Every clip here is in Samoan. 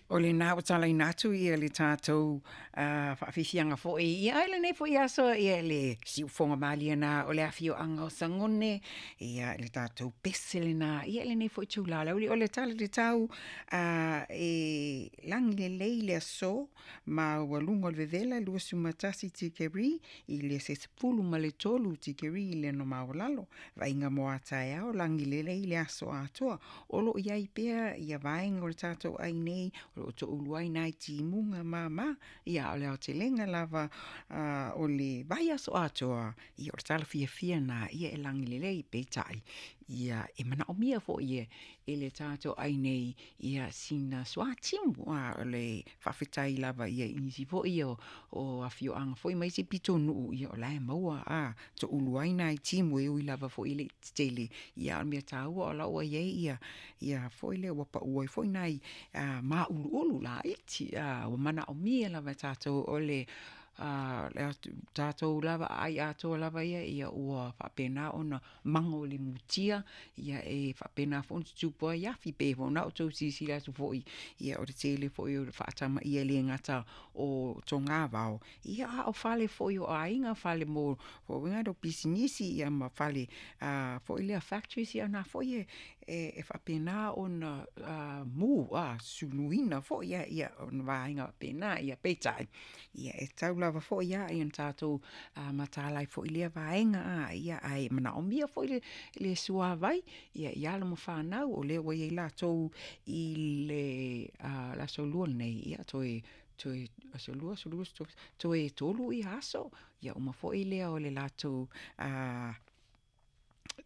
O lena ua talaina atu ia le tatou faafiafiaga foi ia i lenei foi aso ia le siufofoga malie na o le afioaga o Sagone ia le tatou pese lena ia i lenei foi itula o le aoauli. O le tala i le tau e lagi lelei le aso maualuga o le vevela 21 tikeri i le se 13 tikeri le maualalo. Vaaiga mo a taeao lagi lelei le aso atoa. O loo i ai pea ia vaega o le tatou ai nei o loo toulu ai nai timuga mama ia o le aotelega lava o le vaiaso atoa ia o le tala fiafia lena ia e lagi lelei. Peitai ia e manaomia foi e le tatou ai nei ia sina suatimu o le faafetai lava ia i nisi foi o afioaga foi ma isi pitonuu ia o la e maua toulu ai nai timu e ui lava foi e le i tetele ia a o le mea taua o la ua i ai ia foi lea ua pau ai foi nai mauluulu laiti ua manaomia lava e tatou o le tatou lava aai atoa lava ia ua faapena ona mago i le mutia ia e faapena foi ona tutupu ai afi. Pei foi ona outou silasila atu foi ia o le tele foi o le faatamaia e le gata o togavao ia a o fale foi o aiga, fale mo pisinisi ia ma fale foi lea factories ia na foi e faapena ona mu suluina foi ia o vaega faapena. Ia peitai ia e tatau lava foi ia ona tatou mataala ai foi i lea vaega ia ae manaomia foi le suavai ia i alo ma fanau o lea ua i ai latou i le aso Lua lenei ia toe aso Lua, aso Lua, toe 3 aso ia uma foi lea o le latou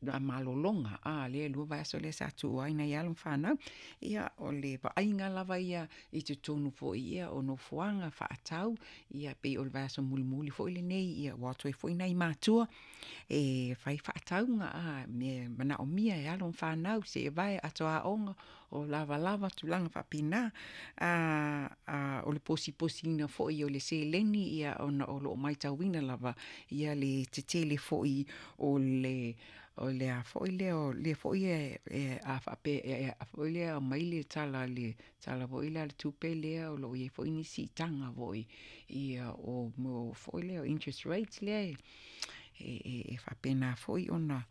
malologa lea e 2 vaiaso lea sa tuua ai nai alo ma fanau. Ia o le vaaiga lava ia i totonu foi ia o nofoaga faatau ia pei o le vaiaso mulimuli foi lenei ia ua o atu ai foi nai matua e fai faatauga mea e manaomia e alo ma fanau, seevae, ato aoga o lavalava, tulaga faapena. O le posiposiina foi o le seleni ia ona o loo matauina lava ia le tetele foi o le a foi lea o lea foi e a faapea foi lea e aumai le tala foi lea a le tupe lea o loo iai foi ni siitaga foi ia o mea foi lea o interest rates lea e faapena foi ona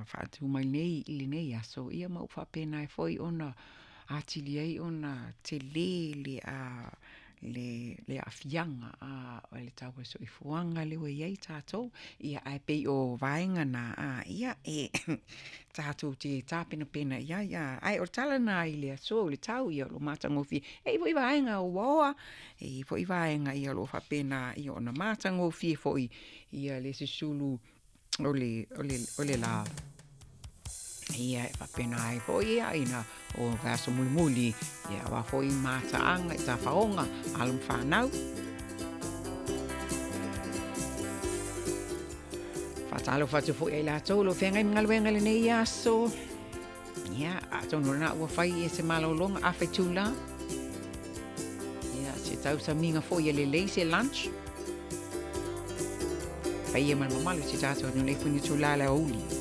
faatu mai nei i lenei aso ia ma ua faapena ai foi ona atili ai ona tele le aafiaga o le tau o le soifuaga lea ua i ai tatou. Ia ae pei o vaega na ia e tatou te tapenapena i ai ae o le tala lena i le aso o le tau ia o lo o matagofie. E i ai foi vaega ua oa, e i ai foi vaega ia o lo o faapena ia ona matagofie foi ia le susulu o le la ia e faapena ai foi ia ina o vaiaso mulimuli ia aua foi mataaga i tafaoga alo ma fanau. Faatalofa atu foi ia i latou o lo o feagai ma galuega i lenei aso. Ia, atonu o lena ua fai ia se malologa afe itula. Ia, se tausamiga foi ia lelei se lunch. Paia ma le mamalu i si tatou atunuu i lenei foi itula o le aoauli.